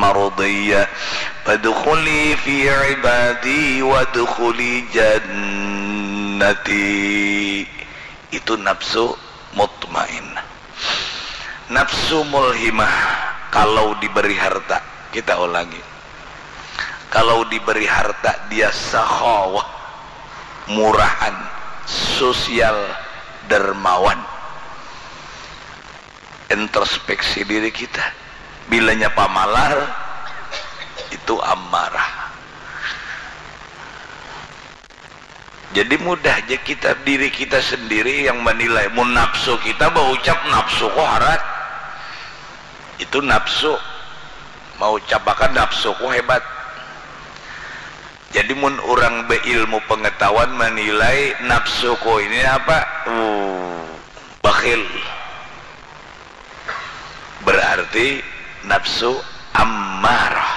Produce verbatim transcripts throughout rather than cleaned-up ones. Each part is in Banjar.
mardiyah. Fadkhuli fi ibadi wadkhuli jannati. Itu nafsu mutmainnah. Nafsu mulhimah, kalau diberi harta, kita ulangi. Kalau diberi harta, dia sakhawah, murahan, sosial, dermawan. Introspeksi diri kita. Bilanya pamalar, itu amarah. Jadi mudah ja kita, diri kita sendiri yang menilai. Mun nafsu kita baucap, nafsuku harat. Itu nafsu. Maucapakan nafsuku hebat. Jadi mun urang beilmu pengetahuan menilai nafsuku ini apa? Uh, bakhil. Berarti nafsu ammarah.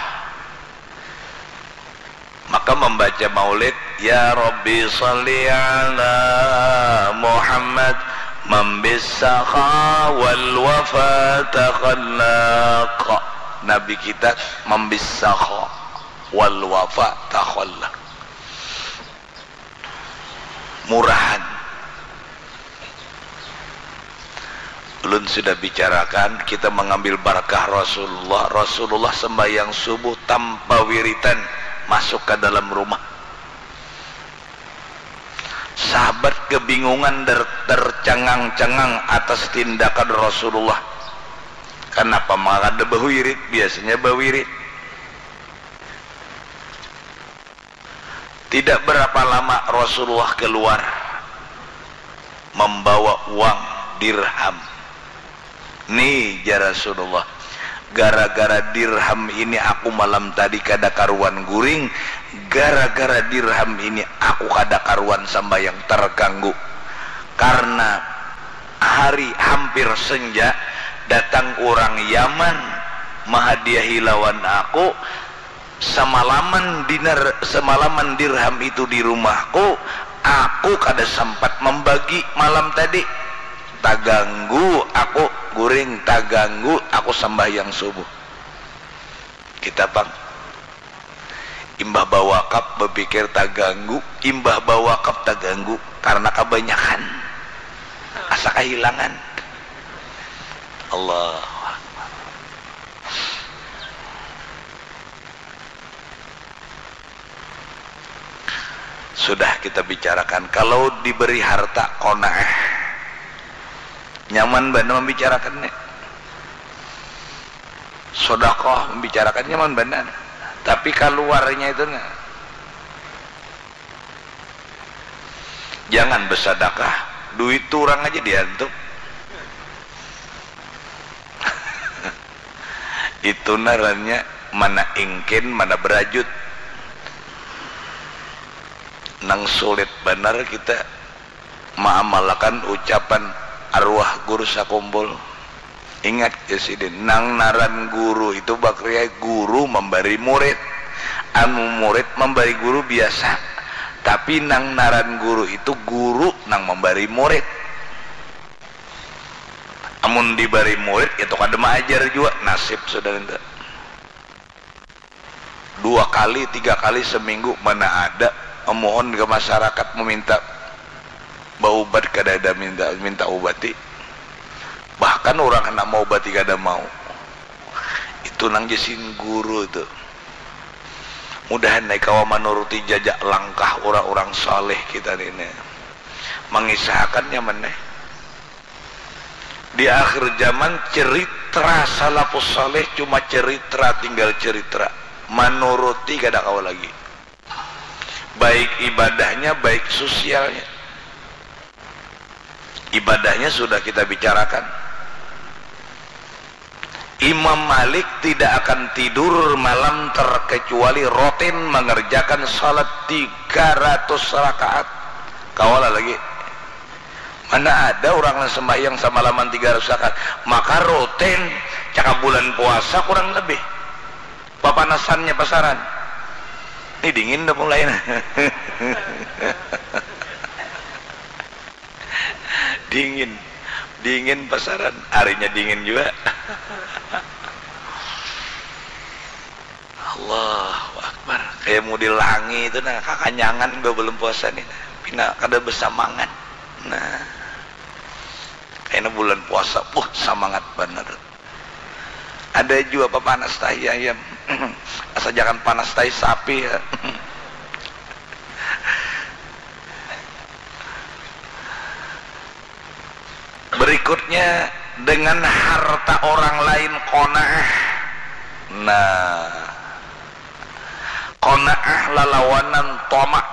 Maka membaca maulid, "Ya Rabbi salli ala Muhammad, mambis sakha wal wafa takhallaq." Nabi kita mambis sakha wal wafa takhallaq. Murahan. Ulun sudah bicarakan, kita mengambil barakah Rasulullah. Rasulullah sembahyang subuh tanpa wiritan, masuk ke dalam rumah. Sahabat kebingungan dan tercengang-cengang atas tindakan Rasulullah. Kenapa maka kada bawirid? Biasanya bawirid. Tidak berapa lama Rasulullah keluar membawa uang dirham. "Ni," jar Rasulullah, "gara-gara dirham ini aku malam tadi kada karuan guring, gara-gara dirham ini aku kada karuan sambayang, terganggu." Karena hari hampir senja, datang urang Yaman mahadiahi lawan aku, semalaman dinar, semalaman dirham itu di rumahku, aku kada sempat membagi malam tadi. Taganggu aku guring, taganggu aku sembahyang subuh. Kita pang imbah bawakaf bepikir taganggu, imbah bawakaf taganggu karena kabanyakan. Asa kahilangan. Allahu Akbar. Sudah kita bicarakan, kalau diberi harta, qanaah. Nyaman banar membicarakan ni. Sodakoh membicarakan nyaman banar. Tapi kaluarnya itu nah. Jangan besadakah, duit tu urang aja diantup. Itu narannya mana ingkin, mana berajut. Nang sulit banar kita maamalakan ucapan arwah guru sakumpul. Ingat ya sidin, nang naran guru itu bakriai guru mambari murid. Amun murid mambari guru biasa, tapi nang naran guru itu guru nang mambari murid. Amun dibari murid itu kada maajar jua, nasib sudah nintu. Dua kali, tiga kali seminggu mana ada memohon ke masyarakat meminta baubat, kada ada minta, minta ubati. Bahkan urang handak maubati kada mau. Itu nang jasin guru tu. Mudahan ai kawa manuruti jajak langkah urang-urang saleh kita ni. Mangisahakan nyaman ai. Di akhir zaman ceritra salafus saleh cuma ceritra, tinggal ceritra. Manuruti kada kawa lagi. Baik ibadahnya, baik sosialnya. Ibadahnya sudah kita bicarakan. Imam Malik tidak akan tidur malam terkecuali rutin mengerjakan salat tiga ratus rakaat. Kawa lah lagi. Mana ada urang nang sembahyang samalaman tiga ratus rakaat. Maka rutin, cakap bulan puasa kurang lebih. Papanasannya pasaran. Ni dingin dah mulai nah. Dingin. Dingin pasaran. Harinya dingin jua. Allahu Akbar. Kayak mau dilangi itu nah, kakanyangan imbah bulan puasa nih. Pina kada bersamangat. Nah, kayaknya bulan puasa, wah, samangat bener. Ada juga papanas tahi ayam. Asal jangan panas tahi sapi ya. Berikutnya, dengan harta orang lain qanaah. Nah, qanaah lalawanan tamak.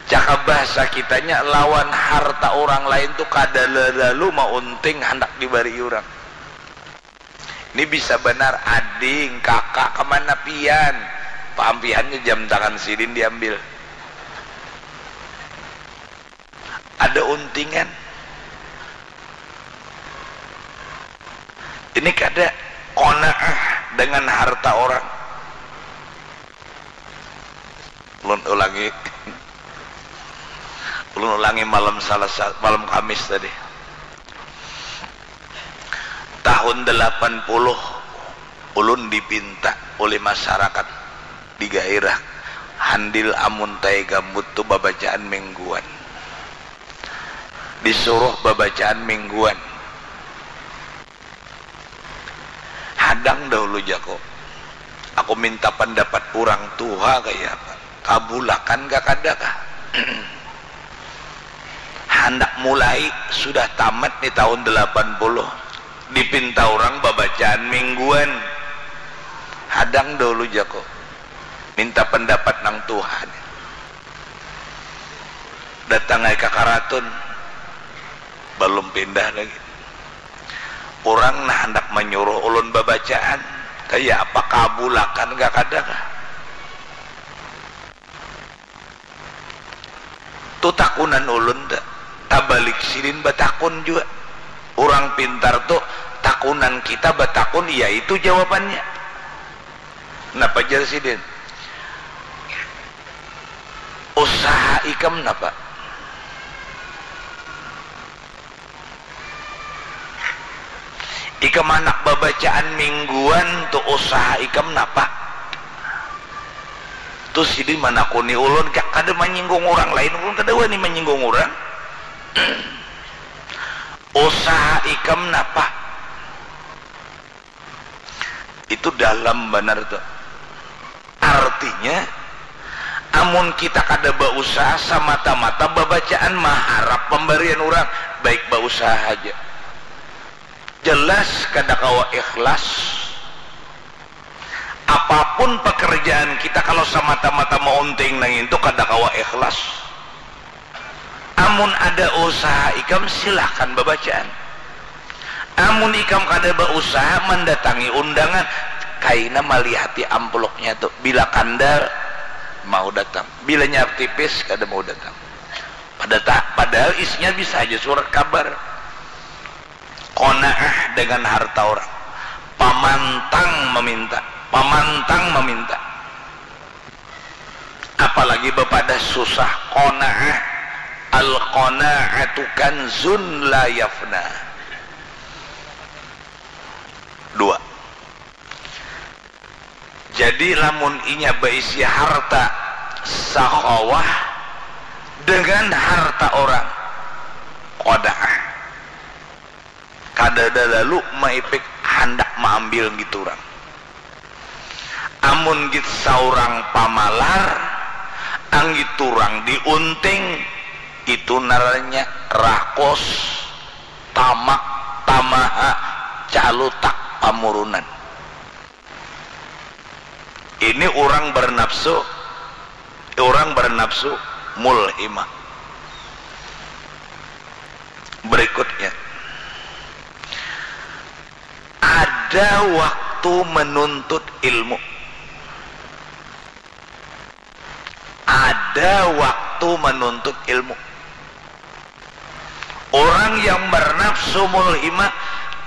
Cakap bahasa kitanya, lawan harta orang lain tu kada lalu maunting handak dibari orang. Ini bisa banar ading, kakak, kemana pian? Paampihannya jam tangan sidin diambil. Ada untingan. Ini kada qanaah dengan harta orang. Ulun ulangi. Ulun ulangi malam Salasa, malam Kamis tadi. Tahun delapan puluh, ulun dipinta oleh masyarakat di gairah Handil, amun tai gambut tu babacaan mingguan. Disuruh babacaan mingguan. Hadang dahulu, jaku. Aku minta pendapat urang tuha kaya apa. Kabulakan kah kada kah? Handak mulai, sudah tamat nih tahun delapan puluh. Dipinta urang babacaan mingguan. Hadang dahulu, jaku. Minta pendapat nang tuha nih. Datang ai ka karatun. Balum pindah lagi. Urang nah handak manyuruh ulun babacaan, kaya apa, kabulakan kah kada kah? Tu takunan ulun ta, tabalik sidin batakun jua. Urang pintar tu takunan kita batakun, yaitu jawabannya. Napa jar sidin? Usaha ikam napa? Ikam handak babacaan mingguan tu, usaha ikam napa? Tu sidin manakuni ulun, ka-, kada manyinggung urang lain, ulun kada wani manyinggung urang. Usaha ikam napa? Itu dalam banar tu. Artinya, amun kita kada bausaha, samata-mata babacaan maharap pambarian urang, baik bausaha haja. Jelas kada kawa ikhlas. Apapun pekerjaan kita, kalau samata-mata maunting nang itu, kada kawa ikhlas. Amun ada usaha ikam, silahkan babacaan. Amun ikam kada bausaha, mandatangi undangan, kaina malihati amplopnya tu. Bila kandal, mau datang. Bila nyar tipis, kada mau datang. Pada ta-, padahal isinya bisa aja surat kabar. Qanaah dengan harta orang. Pamantang meminta. Pamantang meminta. Apalagi bapadah susah, qanaah. Al-qanaatu kanzun la yafna. Dua. Jadi, lamun inya baisi harta sakhawah dengan harta orang, qanaah. Kadada lalu maipik handak maambil ngitu urang. Amun git saurang pamalar, anggitu urang diunting, itu ngarannya rakus, tamak, tamaha, calutak, pamurunan. Ini urang bernafsu, urang bernafsu mulhimah. Berikutnya, ada waktu menuntut ilmu. Ada waktu menuntut ilmu. Orang yang bernafsu mulhimah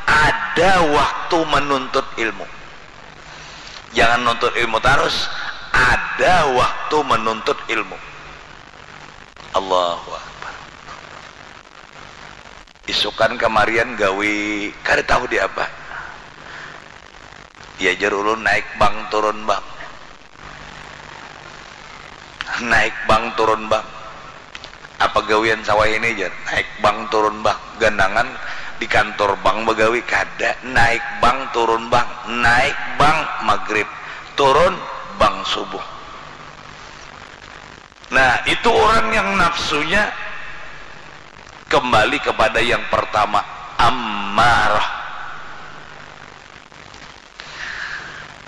ada waktu menuntut ilmu. Jangan nuntut ilmu tarus, ada waktu menuntut ilmu. Allahu Akbar. Isukan kamarian gawi kada tahu di apa. Iya jar ulun, naik bank turun bank. Naik bank turun bank. Apa gawian sawah ini jar? Naik bank turun bank. Ganangan di kantor bank bagawi kada. Naik bank turun bank. Naik bank magrib. Turun bank subuh. Nah, itu orang yang nafsunya kembali kepada yang pertama, ammarah.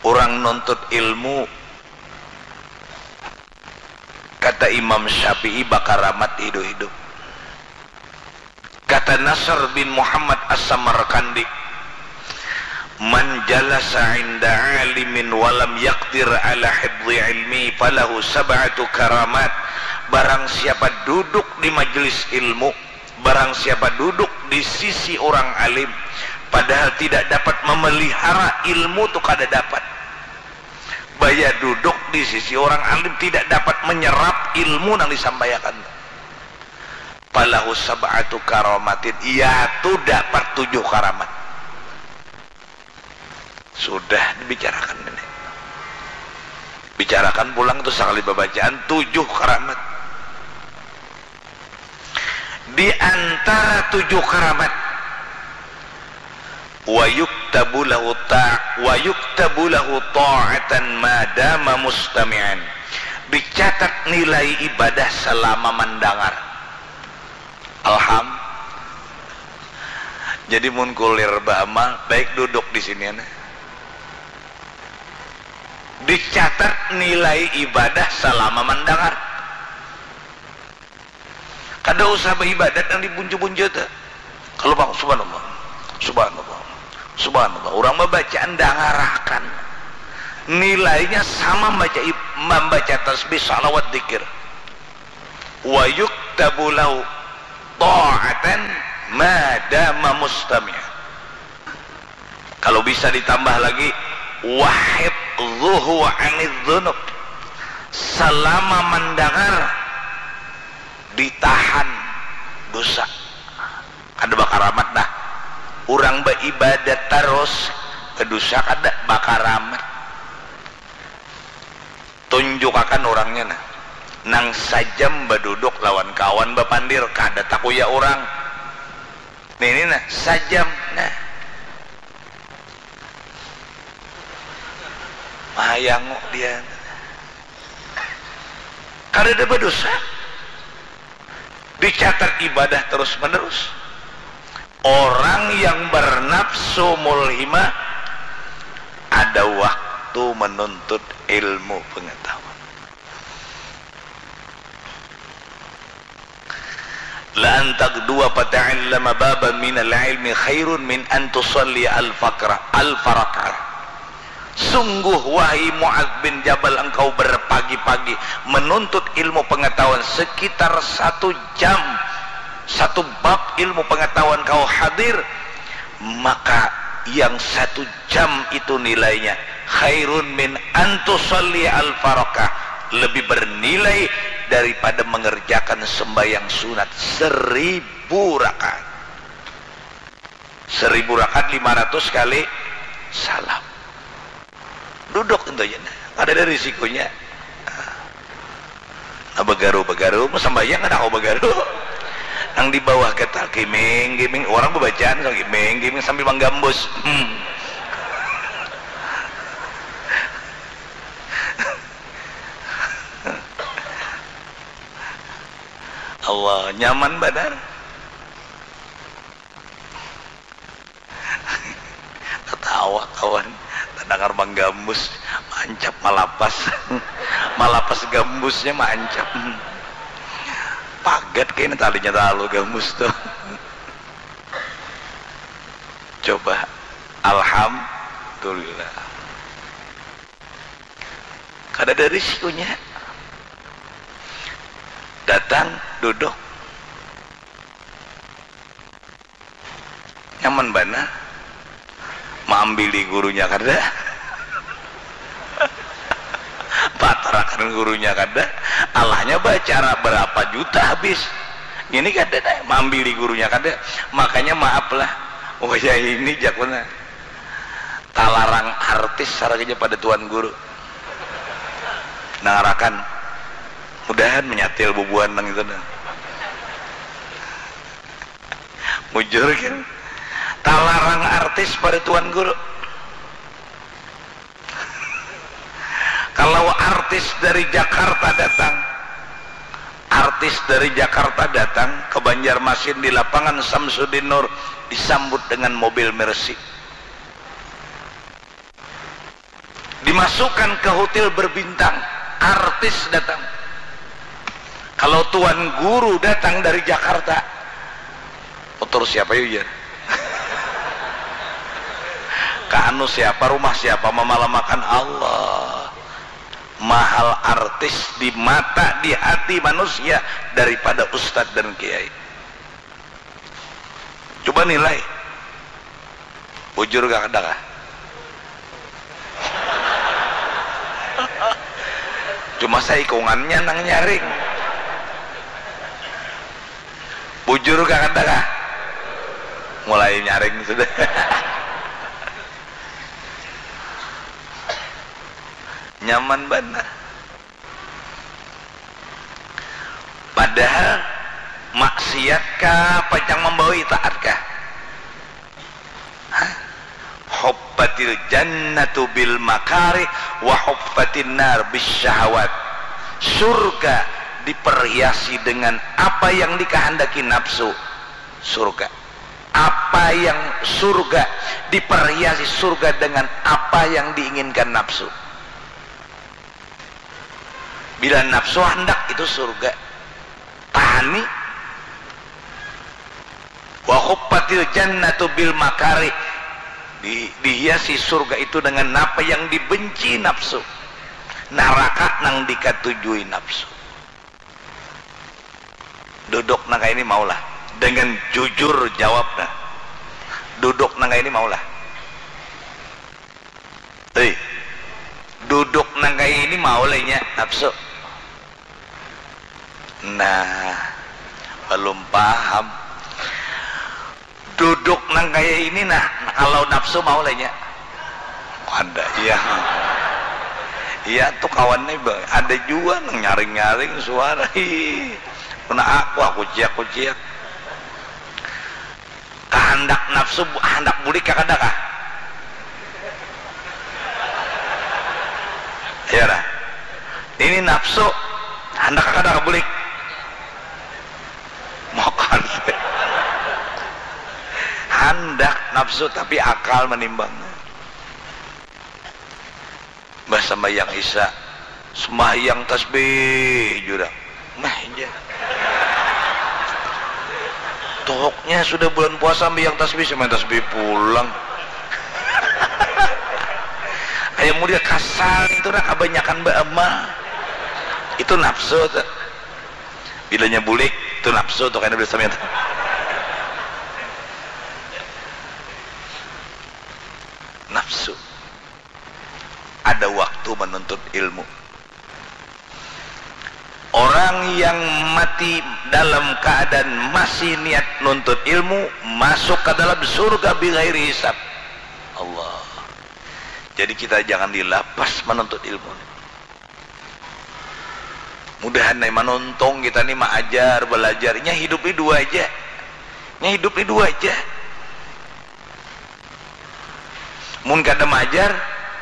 Orang nuntut ilmu, kata Imam Syafi'i, bakaramat hidup-hidup. Kata Nasr bin Muhammad As-Samarkandi, "Man jalasa inda alimin walam yakdir ala hibdi ilmi falahu sab'atu karamat." Barang siapa duduk di majelis ilmu, barang siapa duduk di sisi orang alim, padahal tidak dapat memelihara ilmu tu, kada dapat. Baya duduk di sisi orang alim, tidak dapat menyerap ilmu nang disampaiakan. Falahu sab'atu karamatin, ia tu dapat tujuh karamat. Sudah dibicarakan ini. Bicarakan pulang tu sakali babacaan tujuh karamat. Di antara tujuh karamat, wa yuktabu lahu ta-, wa yuktabu lahu ta'atan ma dama mustami'an. Dicatat nilai ibadah selama mendengar. Alham. Jadi mun kulir baamal, baik duduk di sini, nah. Dicatat nilai ibadah selama mendengar. Kada usah baibadat nang dibuncu-buncu tu. Kalau bang, subhanallah, subhanallah, subhanallah. Orang babacaan dangarakan. Nilainya sama membaca ib-, membaca tasbih, salawat, dikir. Wa yuktabu lahu ta'atan ma dama mustami'an. Kalau bisa ditambah lagi, wa hifdhuhu anidz dzunub. Selama mendengar, ditahan dosa. Kada bakaramat dah. Urang baibadat tarus, badusa kada bakaramat. Tunjukakan urangnya, nah. Nang sajam baduduk lawan kawan bapandir, kada takuya urang. Nini, nah, sajam, nah. Mahayangu dia. Kadada badosa. Dicatat ibadah terus-menerus. Orang yang bernafsu mulhimah ada waktu menuntut ilmu pengetahuan. La an taghdua fata'allama baban minal ilmi khairun min an tusalli alfaqra-, alfa rak'ah. Sungguh, wahai Mu'adz bin Jabal, engkau berpagi-pagi menuntut ilmu pengetahuan sekitar satu jam, satu bab ilmu pengetahuan kau hadir, maka yang satu jam itu nilainya khairun min an tusalli alfa rak'ah, lebih bernilai daripada mengerjakan sembahyang sunat seribu rakaat. Seribu rakaat lima ratus kali salam. Duduk tentu aja. Ada, ada risikonya. Nah, bagaru, bagaru, mau sambayang kada aku bagaru. Nang di bawah gatal, giming, giming, orang bebacaan, so, giming, giming, sambil menggambus. Hmm. Allah, nyaman banar. Tatawa kawan, tadangar manggambus, maancap malapas. Malapas gambusnya maancap. Pagat kayaknya talinya talalu gambus tuh. Coba, alhamdulillah. Kada ada risikonya. Datang, duduk. Nyaman banar. Maambili gurunya kada. Patarakan gurunya kada. Alahnya bacara berapa juta habis. Ini kada dah, maambili gurunya kada. Makanya maaf lah. Wayah ini jakuna. Talarang artis harganya pada tuan guru. Nang rakan, mudahan menyatil bubuhan nang itu nah. Mujur kan? Talarang artis pada tuan guru. Kalau artis dari Jakarta datang, artis dari Jakarta datang ke Banjarmasin di lapangan Samsudin Nur, disambut dengan mobil Mercy. Dimasukkan ke hotel berbintang, artis datang. Kalau tuan guru datang dari Jakarta, motor siapa yuk ya? Ka anu siapa, rumah siapa, mamalamakan Allah. Mahal artis di mata, di hati manusia daripada ustadz dan kiai. Coba nilai. Bujur kah kada kah? Cuma saikungannya nang nyaring. Bujur kah kada kah? Mulai nyaring sudah. Nyaman banar. Padahal maksiat kah pacang mambawa itaat kah? Hah? Huffatil jannatu bil makarih wa huffatin nar bis syahawat. Surga diperhiasi dengan apa yang dikehendaki nafsu. Surga. Apa yang surga diperhiasi surga dengan apa yang diinginkan nafsu. Bila nafsu handak, itu surga. Tahani. Wa huffatil jannatu bil makarih. Di, dihiasi surga itu dengan apa yang dibenci nafsu. Naraka nang dikatujui nafsu. Duduk nang kaya ini maulah. Dengan jujur jawab nah. Duduk nang kaya ini maulah. Hei, duduk nang kaya ini mau lah inya nafsu. Nah, belum paham. Duduk nang kaya ini nah, kalau nafsu mau lah inya. Kada, iya. Iya tuh kawan nih, ada jua nang nyaring-nyaring suara. Ih, kena aku, aku ciak, aku ciak. Kahandak nafsu, handak bulik kah kada kah? Iya lah. Ini nafsu, handak kah kada kah bulik? Makan. Handak nafsu, tapi akal manimbang. Bah sambahyang isya, sembahyang tasbih jurang. Mah ja. Tohoknya sudah bulan puasa sambahyang tasbih, sembahyang tasbih pulang. Ayam muda kasar itu nah, kabanyakan baamal. Itu nafsu tuh. Bilanya bulik, itu nafsu tuh, kena bisa minta. Nafsu. Ada waktu menuntut ilmu. Orang yang mati dalam keadaan masih niat nuntut ilmu, masuk ke dalam surga bighairi hisab. Allah. Jadi kita jangan dilapas menuntut ilmu. Mudahan nih manuntung kita nih maajar, belajar. Nya hidup ini dua aja. Nya hidup ini dua aja. Mun kada maajar,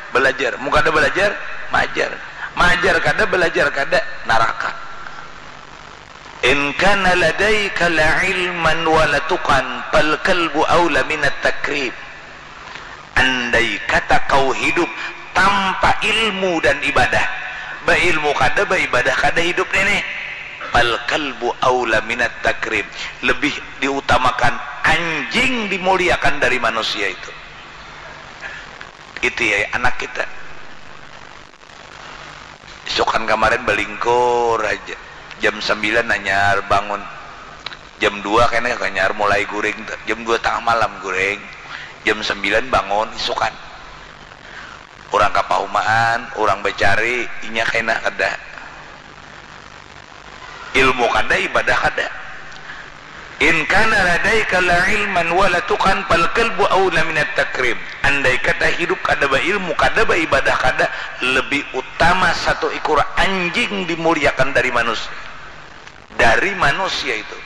belajar. Mun kada belajar, maajar. Maajar kada, belajar kada, naraka. In kana ladaika la ilman wa la tuqan, fal kalbu aula minat takrib. Andai kata kau hidup tanpa ilmu dan ibadah, bailmu kada, baibadah kada hidup nini, fal kalbu aula minat takrib, lebih diutamakan anjing dimuliakan dari manusia itu. Itu ya anak kita. Isukan kamarin balingkur haja. Jam sambilan hanyar bangun. Jam dua kena hanyar mulai guring tu. Jam dua tangah malam guring. Jam sambilan bangun isukan. Urang ka paumaan, urang bacari, inya kena kada. Ilmu kada, ibadah kada. In kana ladaika la ilman wala tuqan fal kalbu aula minat takrim. Andai kata hidup kada bailmu, kada baibadah, kada, lebih utama satu ikur anjing dimuliakan dari manusia. Dari manusia itu.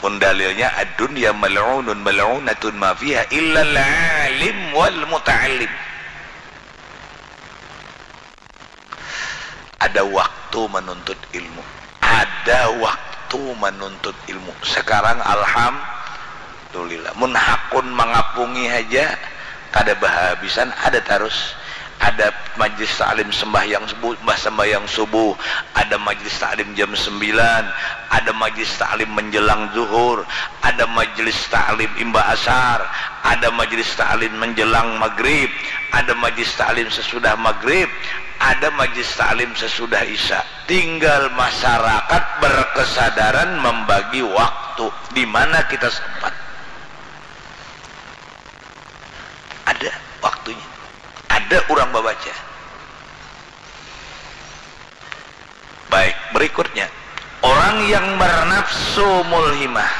Mun dalilnya ad-dunya mal'unun mal'unatun ma fiha illa al-alim wal muta'allim. Ada waktu menuntut ilmu. Ada waktu menuntut ilmu. Sekarang alhamdulillah. Mun hakun mangapungi haja kada bahabisan, ada tarus. Ada majlis taklim sembahyang subuh, mbah sembahyang subuh, ada majlis taklim jam sembilan, ada majlis taklim menjelang zuhur, ada majlis taklim imba asar, ada majlis taklim menjelang maghrib, ada majlis taklim sesudah maghrib, ada majlis taklim sesudah isya. Tinggal masyarakat berkesadaran membagi waktu di mana kita sempat. Ada waktunya. Ada orang babaca. Baik, berikutnya. Orang yang bernafsu mulhimah,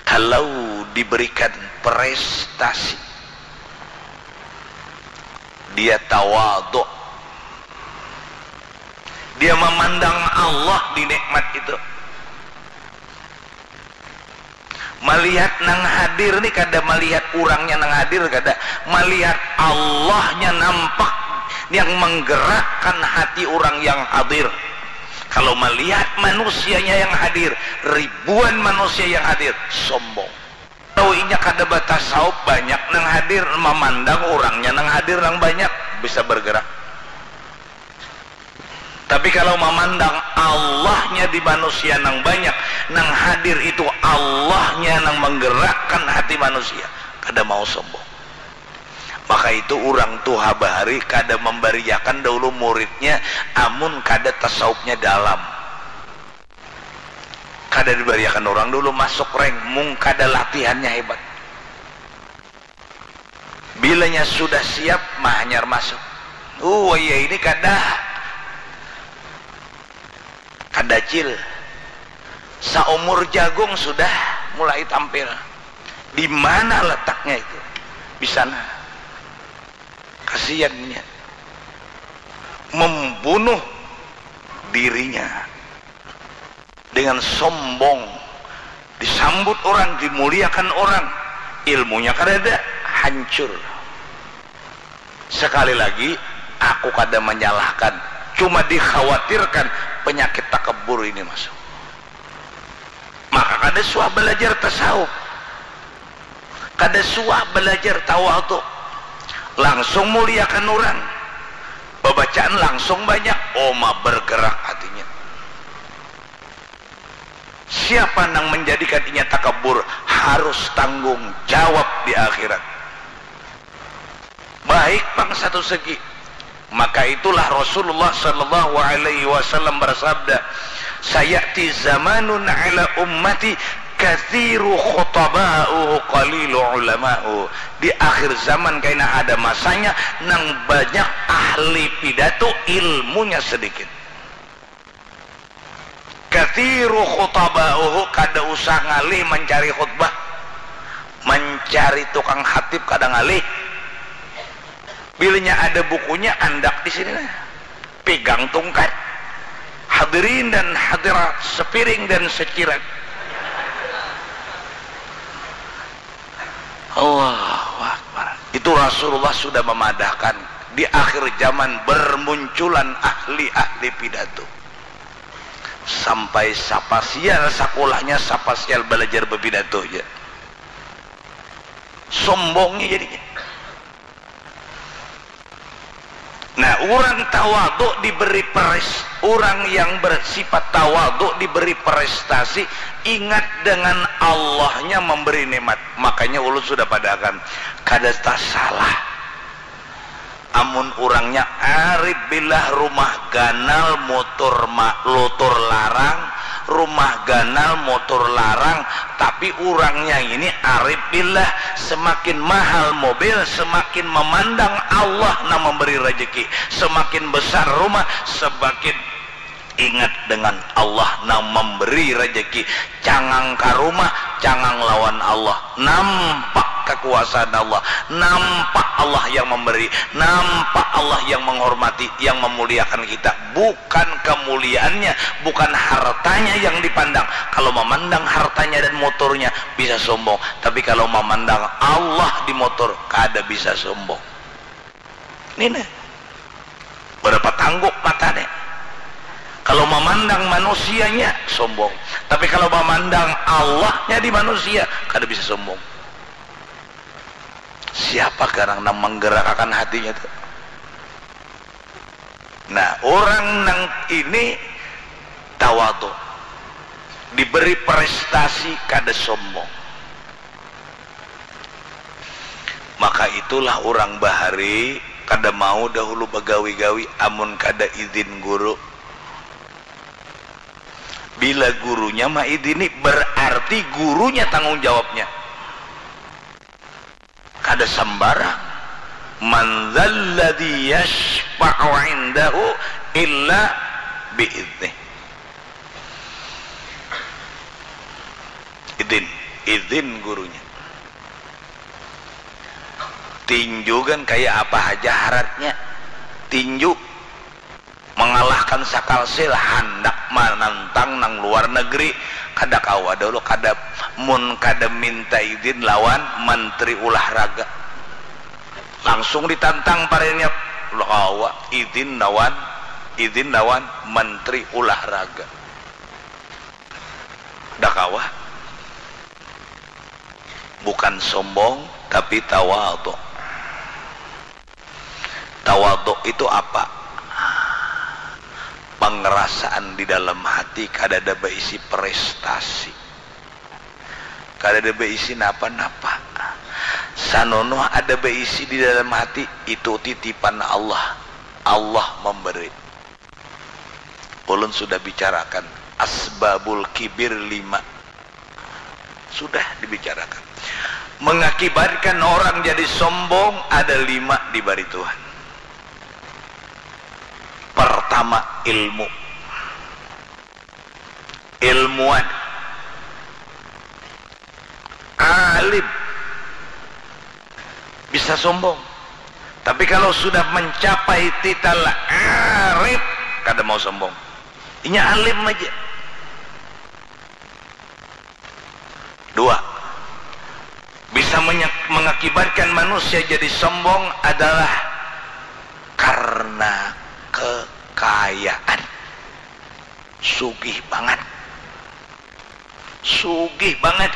kalau diberikan prestasi, dia tawaduk. Dia memandang Allah di nikmat itu. Malihat nang hadir ni kada malihat urangnya nang hadir, kada. Malihat Allahnya nampak yang menggerakkan hati urang yang hadir. Kalau malihat manusianya yang hadir, ribuan manusia yang hadir, sombong. Tahu inya kada batasawuf, banyak nang hadir, mamandang urangnya nang hadir nang banyak, bisa bergerak. Tapi kalau mamandang Allahnya di manusia nang banyak, nang hadir itu Allahnya nang menggerakkan hati manusia, kada mau sombong. Maka itu urang tuha bahari kada membariakan dahulu muridnya amun kada tasawufnya dalam. Kada dibariakan urang dulu masuk rank, mung kada latihannya hebat. Bilanya sudah siap, mah hanyar masuk. Uh, iya ini kada, kada cil. Saumur jagung sudah mulai tampil. Di mana letaknya itu? Di sana. Kasiannya. Membunuh dirinya. Dengan sombong, disambut orang, dimuliakan orang, ilmunya kadada, hancur. Sekali lagi, aku kada menyalahkan, cuma dikhawatirkan penyakit takabur ini masuk. Maka kada suah belajar tasawuf, kada suah belajar tawaduk, langsung muliakan orang, babacaan langsung banyak, oma bergerak hatinya. Siapa nang menjadikan inya takabur harus tanggung jawab di akhirat. Baik pang satu segi. Maka itulah Rasulullah sallallahu alaihi wasallam bersabda, "Sayati zamanun ala ummati kathiru khutaba'uhu qalilu ulama'u." Di akhir zaman kaina ada masanya nang banyak ahli pidato, ilmunya sedikit. Kathiru khutaba'uhu, kada usah ngalih mancari khutbah, mancari tukang khatib kada ngalih. Bilanya ada bukunya, andak di sini nah, pigang tungkat. Hadirin dan hadirat sepiring dan secirat. Allahu Akbar. Itu Rasulullah sudah memadahkan di akhir zaman bermunculan ahli-ahli pidato. Sampai sapasial sakulahnya, sapasial balajar bapidato ja. Sombongnya jadinya. Nah, urang tawaduk diberi peres, urang yang bersifat tawaduk diberi prestasi, ingat dengan Allahnya memberi nikmat. Makanya ulun sudah padahakan, kada tasalah. Amun urangnya arif billah, rumah ganal, motor ma-, lotor larang, rumah ganal, motor larang, tapi urangnya ini arif billah, semakin mahal mobil, semakin memandang Allah nang memberi rezeki, semakin besar rumah, semakin Ingat dengan Allah nang memberi rezeki. Cangang ka rumah, cangang lawan Allah. Nampak kekuasaan Allah, nampak Allah yang memberi, nampak Allah yang menghormati, yang memuliakan kita. Bukan kemuliaannya, bukan hartanya yang dipandang. Kalau memandang hartanya dan motornya, bisa sombong. Tapi kalau memandang Allah di motor, kada bisa sombong. Ini nih. Berapa tangguk mata nih. Kalau memandang manusianya, sombong. Tapi kalau memandang Allahnya di manusia, kada bisa sombong. Siapa garang nang menggerakkan hatinya tuh? Nah, orang nang ini tawadu, diberi prestasi, kada sombong. Maka itulah orang bahari kada mau dahulu bagawi-gawi amun kada izin guru. Bila gurunya maizini, berarti gurunya tanggung jawabnya. Kada sembarang. Man dzalladzi yashfa'u indahu illa bi'idnih. Izin, izin gurunya. Tinju kan kayak apa aja haratnya. Tinju mengalahkan sakalsil, handak manantang nang luar negeri, kada kawa dahulu, kada, mun kada minta izin lawan menteri ulahraga. Langsung ditantang pariannya, kada kawa, izin lawan, izin lawan menteri ulahraga. Kada kawa. Bukan sombong, tapi tawaduk. Tawaduk itu apa? Pengerasaan di dalam hati, kadada baisi prestasi. Kadada baisi napa-napa. Sanonoh ada baisi di dalam hati, itu titipan Allah. Allah memberi. Ulun sudah bicarakan asbabul kibir lima. Sudah dibicarakan. Mengakibatkan orang jadi sombong ada lima dibari Tuhan. Pertama, ilmu. Ilmuwan. Alim. Bisa sombong. Tapi kalau sudah mencapai titel arif, kada mau sombong. Inya alim aja. Dua, bisa menye-, mengakibatkan manusia jadi sombong adalah karena kekayaan. Sugih banget. Sugih banget.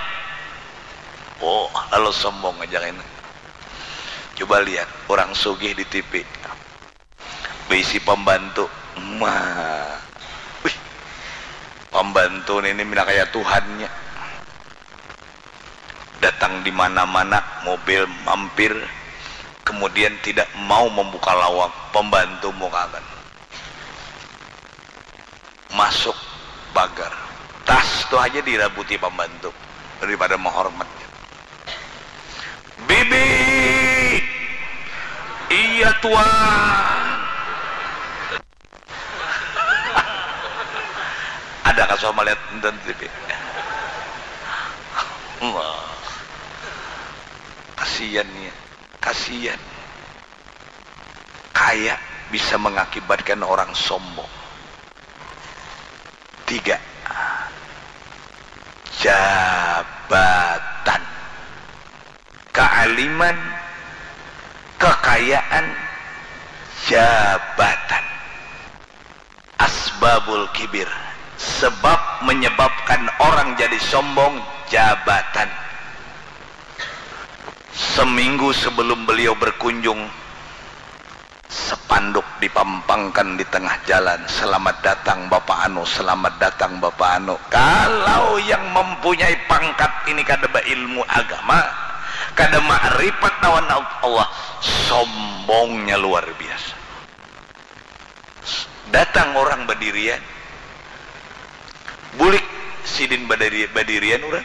Oh, lalu sombong aja ini. Coba lihat, orang sugih di T V. Baisi pembantu. Ma. Wih. Pembantu ini mina kaya Tuhannya. Datang di mana-mana, mobil mampir, kemudian tidak mau membuka lawang, pembantu mukakan. Masuk pagar. Tas tu aja dirabuti pembantu daripada menghormatnya. Bibi. Iya, Tuan. Ada kasuah melihat nonton T V. Wah. Kasihan ya. Kasihan. Kaya bisa mengakibatkan orang sombong. Tiga, jabatan. Kealiman, kekayaan, jabatan. Asbabul kibir, sebab menyebabkan orang jadi sombong, jabatan. Seminggu sebelum beliau berkunjung, sepanduk dipampangkan di tengah jalan, "Selamat datang Bapak Anu, selamat datang Bapak Anu." Kalau yang mempunyai pangkat ini kada berilmu agama, kada makrifat lawan Allah, sombongnya luar biasa. Datang orang badirian, bulik sidin badiri-, badirian urang.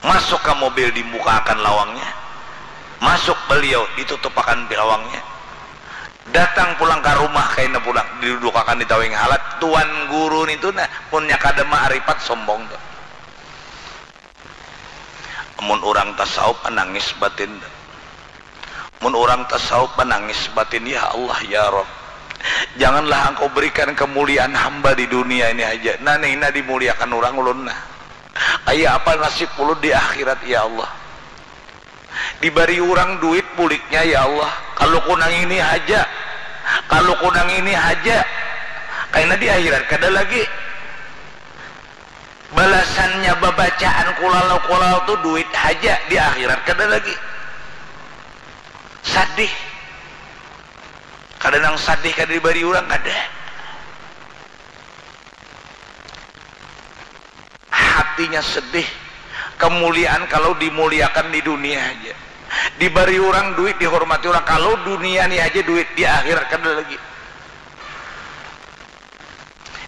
Masuk ka mobil, dibukakan lawangnya. Masuk baliau, ditutupakan lawangnya. Datang pulang ka rumah kaina pulang, didudukakan di tawing halat, tuan guru nitu nah, munnya kada maaripat sombong tu. Amun urang tasawuf manangis batin tu. Mun urang tasawuf manangis batin, ya Allah, ya Rabb, janganlah Engkau berikan kemuliaan hamba di dunia ini haja. Nah, nih, nah dimuliakan urang ulun nah. Kaya apa nasib ulun di akhirat, ya Allah? Dibari urang duit buliknya, ya Allah. Kalu ku nang ini haja. Kalu ku nang ini haja. Kaina di akhirat kada lagi. Balasannya babacaan kulal-kulal tu duit haja, di akhirat kada lagi. Sadih. Kada nang sadih kada dibari urang, kada. Hatinya sedih. Kemuliaan kalau dimuliakan di dunia aja. Dibari urang duit, dihormati urang. Kalau dunia ni aja duit, di akhirat kada lagi.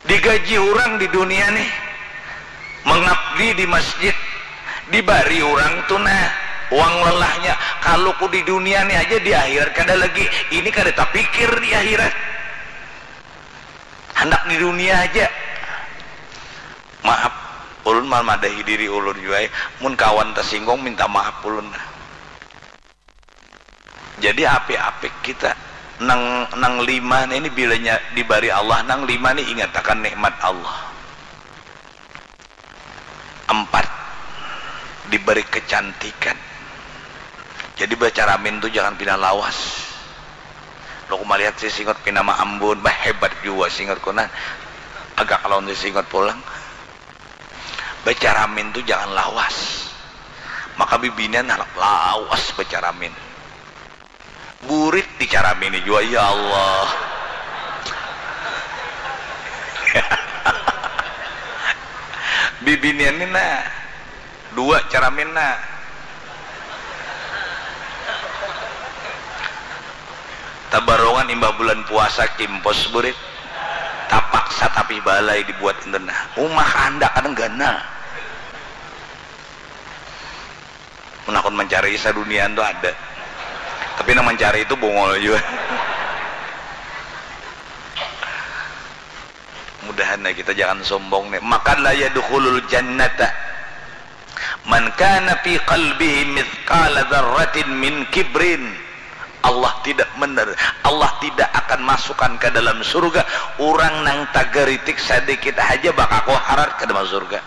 Digaji urang di dunia nih, mengabdi di masjid. Dibari urang tu nah, uang lelahnya. Kalau ku di dunia ni aja, di akhirat kada lagi. Ini kada tapikir di akhirat. Handak di dunia aja. Maaf, ulun mamadahi diri ulun jua ai. Mun kawan tasinggung, minta maaf ulun nah. Jadi apik-apik kita. Nang, nang lima ni, ini bilanya dibari Allah, nang lima ni ingatakan nikmat Allah. Empat, diberi kecantikan. Jadi bacaramin tu jangan pina lawas. Lo ku malihat si Singot pina maambun, bah hebat jua Singot ku nah. Agak lawan si Singot pulang. Bacaramin tu jangan lawas. Maka bibinian halap lawas bacaramin. Burit dicaramini jua, ya Allah. Bibinian ni nah, dua caramin nah. Tabarongan imbah bulan puasa kimpos burit. Tapaksa tapi balai dibuat enten nah. Uma kahandak kadang ganal. Mun hakun mancari saduniaan tu ada. Tapi nang mancari itu bungul jua. Mudahan lah kita jangan sombong nih. Maka la yadkhulul jannata man kana fi qalbihi mithqala dzarratin min kibrin. Allah tidak mener, Allah tidak akan masukkan ke dalam surga urang nang tagaritik sadikit haja bakaku harat kada masuk surga.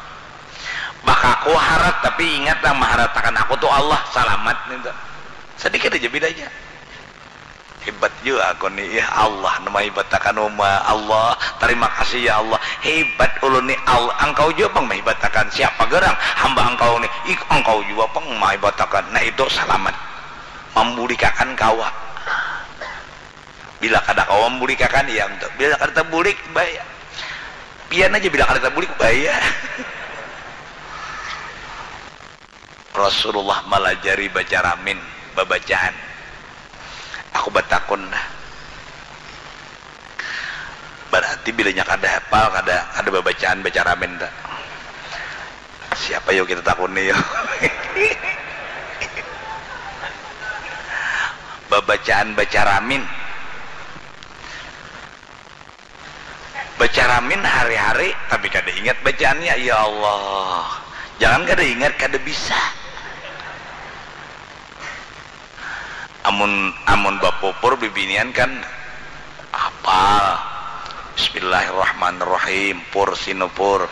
Bakaku harat, tapi ingat nang maharatakan aku tu Allah, salamat nintu. Sadikit aja bedanya. Hebat jua aku ni, ya Allah nang mahibatakan uma, Allah, tarima kasih ya Allah. Hebat ulun ni, Allah, engkau jua pang mahibatakan. Siapa garang? Hamba engkau ni. Ik, engkau jua pang mahibatakan. Nah itu salamat. Mambulikakan kawa. Bila kada kawa mambulikakan, iya, bila kada tabulik, baya. Pian aja bila kada tabulik, baya. Rasulullah malajari bacaramin, babacaan. Aku batakun nah. Bararti bilanya kada hapal, kada, kada babacaan bacaramin ta. Siapa yo kita takuni yo? Babacaan bacaramin. Bacaramin hari-hari, tapi kada ingat bacaannya. Ya Allah, jangan kada ingat, kada bisa. Amun, amun bapupur bibinian kan hapal. Bismillahirrahmanirrahim. Pur sinupur.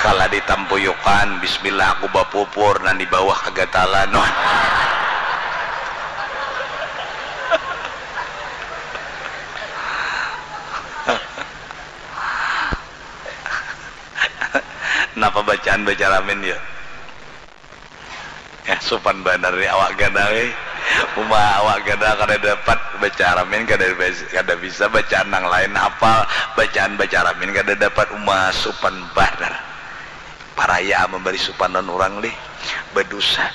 Kala ditampuyukan, bismillah aku bapupur, nang di bawah kagatalan. Wah. Napa bacaan bacaramin ya? Ya, supan banar ni awak ganal, eh. Uma awak ganal kada dapat bacaramin, kada bis-, kada bisa bacaan nang lain hapal, bacaan bacaramin kada dapat, uma supan banar. Paraya memberi supanan urang, lih. Badusa.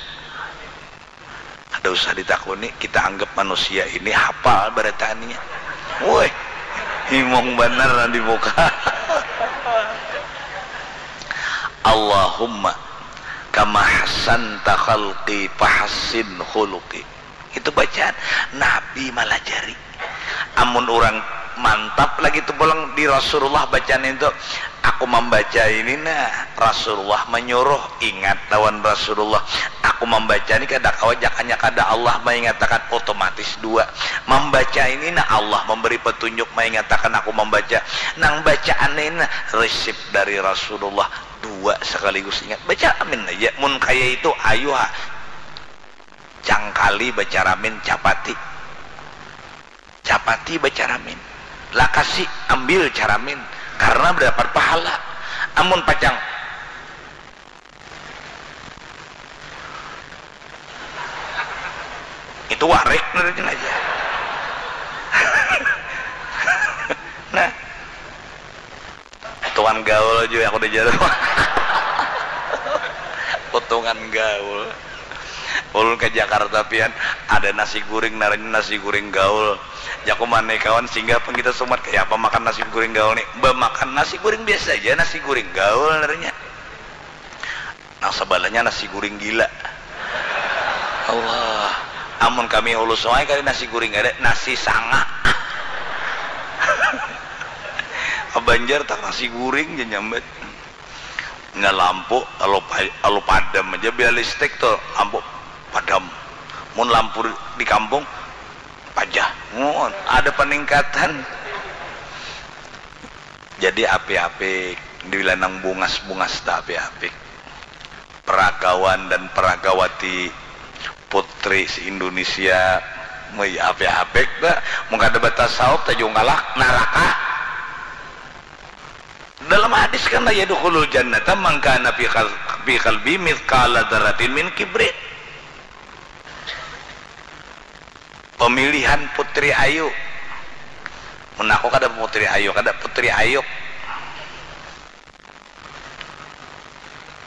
Kada usah ditakuni, kita anggap manusia ini hapal baratanya. Woi, himung banar nang di muka. Allahumma kama hassanta khalqi fahassin khuluqi. Itu bacaan Nabi malajari. Amun urang mantap lagi tu pulang di Rasulullah bacaan itu, aku mambaca ini nah, Rasulullah manyuruh, ingat lawan Rasulullah, aku mambaca ini kada kawa, jakanya kada Allah maingatakan, otomatis dua. Mambaca ini nah, Allah mambari patunjuk maingatakan aku mambaca, nang bacaan ini nah, risip dari Rasulullah, dua sakaligus ingat. Baca amin aja, mun kaya itu ayu ha, cangkali baca ramin capati. Capati bacaramin, lakasi ambil caramin, karena dapat pahala. Amun pacang, itu warik, nurutnya aja. Nah, potongan gaul aja aku dijar. Potongan gaul. Ulun ke Jakarta pian, ada nasi guring, naranya nasi guring gaul. Jaku mana kawan, singgah pang kita sumat, kaya apa makan nasi guring gaul nih? Bamakan nasi guring biasa aja, nasi guring gaul naranya. Nang sebalahnya nasi guring gila. Allah, amun kami ulus wae kali nasi guring, ada nasi sanga. Banjar tak nasi guring ja nyambat. Nya lampu alu pa-, alu padam aja, bila listrik tu lampu padam. Mun lampu di kampung pajah. Mun ada peningkatan. Jadi apik-apik, bila nang bungas-bungas tak apik-apik. Peragawan dan peragawati putri se-Indonesia, mui apik-apik dah. Mun kada batasawuf tajungkalah naraka. Dalam hadis kan, "La yadkhulul jannata man kana fi qal-, fi qalbi mithqala dzarratin min kibrin." Pemilihan putri ayu. Mun aku kada putri ayu, kada putri ayuk.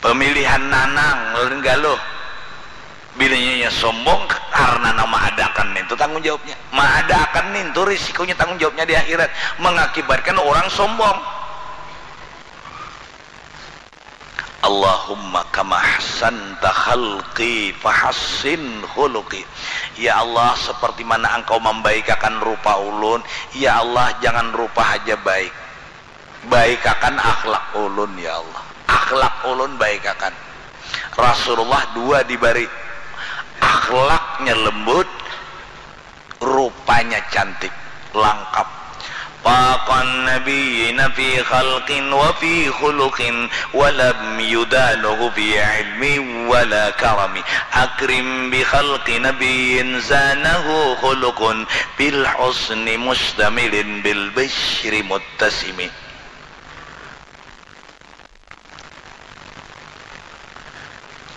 Pemilihan nanang, ulun galuh. Bilanya inya sombong karena nang maadakan nintu tanggung jawabnya. Maadakan nintu risikonya, tanggung jawabnya di akhirat. Mengakibatkan orang sombong. Allahumma kama ahsanta khalqi fahassin khuluqi. Ya Allah, seperti mana Engkau mambaikakan rupa ulun, ya Allah, jangan rupa haja baik. Baikakan akhlak ulun, ya Allah. Akhlak ulun baikakan. Rasulullah dua dibari. Akhlaknya lembut, rupanya cantik, langkap. Faqan nabiyyina fi khalqin wa fi khuluqin wa lam yudanuhu fi ilmi wa la karami. Akrim bi khalqi nabiyyin zanahu khuluqun bil husni mustamilin bil bishri muttasimi.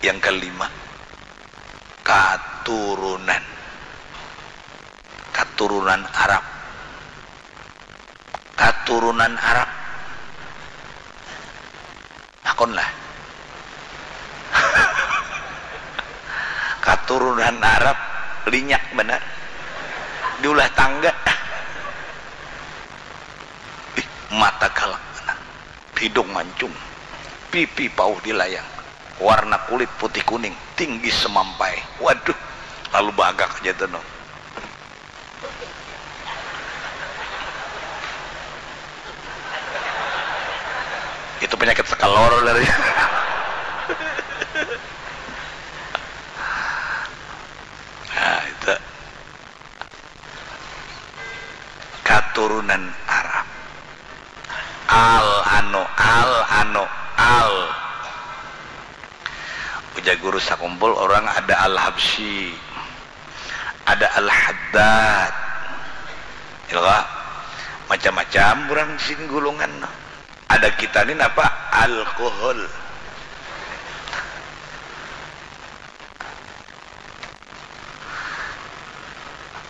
Yang kelima, katurunan. Katurunan Arab. Katurunan Arab. Hakonlah. Katurunan Arab linyak banar. Diulah tangga. Ih, mata galak banar. Hidung mancung, pipi pauh dilayang, warna kulit putih kuning, tinggi semampai. Waduh, lalu bagak aja tuh, no. Itu penyakit sekelor dari. Nah, itu. Katurunan Arab. Al anu, al anu, al. Ujar guru sakumpul orang, ada Al-Habsyi, ada Al-Haddad. Ya kah? Macam-macam urang sini gulungan. Ada kita ni napa? Alkohol.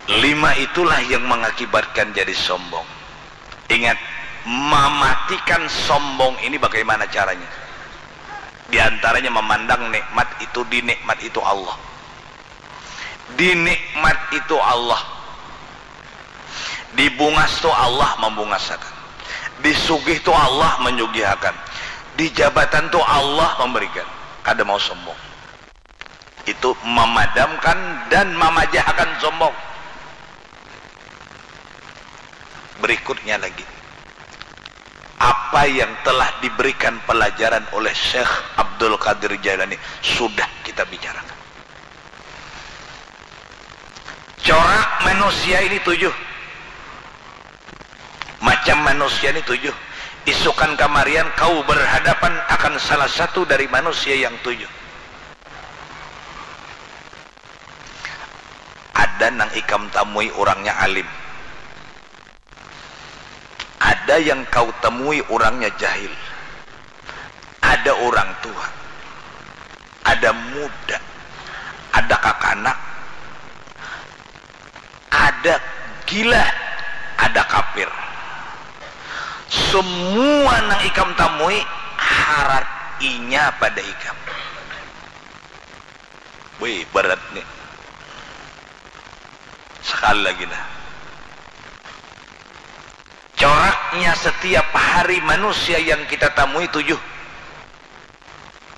Lima itulah yang mengakibatkan jadi sombong. Ingat, mematikan sombong ini bagaimana caranya? Di antaranya memandang nikmat itu, di nikmat itu Allah. Di nikmat itu Allah. Di bungas tu Allah membungasakan. Di sugih tu Allah menyugihakan. Di jabatan tu Allah memberikan. Kada mau sombong. Itu memadamkan dan mamajahakan sombong. Berikutnya lagi, apa yang telah diberikan pelajaran oleh Syekh Abdul Qadir Jailani sudah kita bicarakan. Corak manusia ini tujuh. Macam manusia ini tujuh. Isukan kamarian kau berhadapan akan salah satu dari manusia yang tujuh. Ada nang ikam tamui urangnya alim. Ada yang kau temui urangnya jahil. Ada orang tua. Ada muda. Ada kakanak. Ada gila. Ada kapir. Semua nang ikam tamui harat inya pada ikam. Wih, berat nih. Sekali lagi nah. Coraknya setiap hari manusia yang kita tamui tujuh.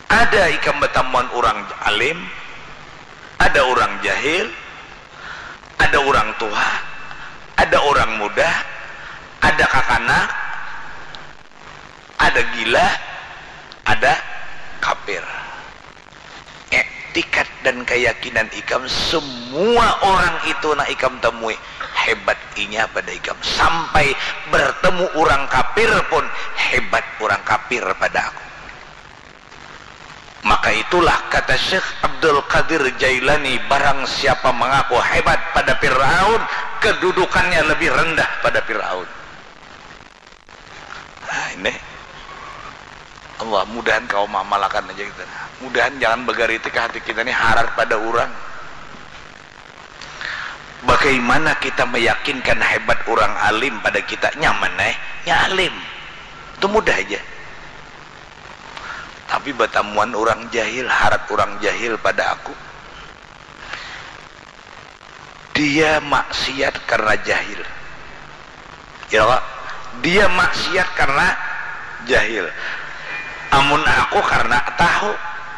Ada ikam batamuan urang alim, ada urang jahil, ada urang tuha, ada urang muda, ada kakanak, ada gila, ada kapir. Iktikat dan kayakinan ikam, semua orang itu nang ikam temui, hebat inya pada ikam. Sampai bertemu urang kapir pun, hebat urang kapir pada aku. Maka itulah kata Syekh Abdul Qadir Jailani, barang siapa mengaku hebat pada Fir'aun, kedudukannya lebih rendah pada Fir'aun. Nah, ini. Allah, mudahan kau mamalakan aja kita. Mudahan jangan bagaritik hati kita ni harat pada urang. Bagaimana kita meyakinkan hebat urang alim pada kita? Nyaman eh, nya alim. Itu mudah aja. Tapi batamuan urang jahil, harat urang jahil pada aku. Dia maksiat karena jahil. Ya, Pak? Dia maksiat karena jahil. Amun aku karena tahu.